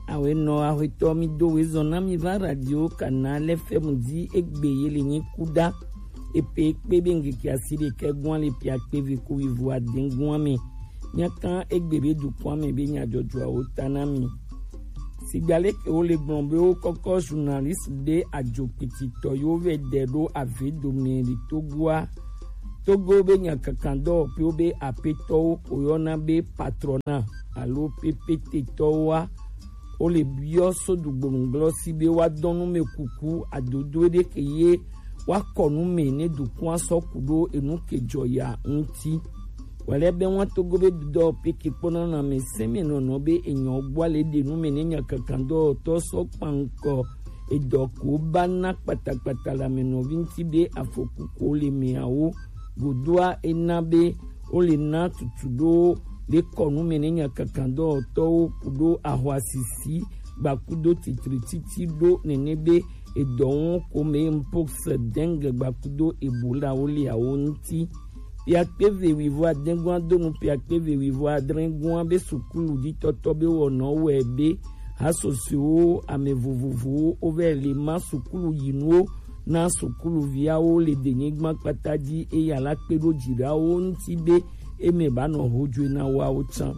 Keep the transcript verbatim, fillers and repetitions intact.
Awe nɔ axwetɔ mi do wezɔn na mi va radio Canal F M di egbe ye le nyi kuda. Epe kpe be ngeke asi ɖekɛ gwan le pia kpe ve ko wivo adɛn gwan me. Nya kan egbe be dukɔn me be nya jɔjɔawo ta na mi. Sigba leke wo le gblɔn be wo kɔkɔ journaliste ɖe ajo kpititɔ yo vɛ dɛ ɖo ave dome le Togoa. Togo be nya kankan dɔ pe wo be apetɔwo ko yɔna be patrona alo pepetetɔwoa, wo le biɔ so dugbonuglɔ si be wa dɔn nu me kuku adodo ɖe ke ye wa kɔ nu me ne dukɔn sɔ ku ɖo enu ke jɔ ya ŋuti. Wale be wa Togo be dɔ pe ke kpɔna na me sɛmɛ nɔnɔ be enyɔ gbɔ le ɖe nu me ne nya kankan dɔ tɔ sɔ kpankɔ edɔ ko ba na kpatakpata la me nɔvi ŋuti be afɔku ko le meawo godoa ena be wo le na tutu ɖo le kɔnu me ne nya kankan dɔwɔtɔwo ku ɖo ahwa sisi gbakudo titrititi ɖo nene be edɔwɔn ko me mpox dengue gbakudo ebola wo le awo ŋuti. Piakpe ve wivo adɛn gwan donu piakpe ve wivo adrɛn gwan be sukulu ditɔtɔ be wɔnɔ wɛ be hasɔsewo ame vovovowo wovɛ le ma sukulu yinuwo na sukuluviawo le denyigban kpata dzi eya la kpe ɖo dziɖawo ŋuti be eme ba nɔ hojoe na woawo tsã.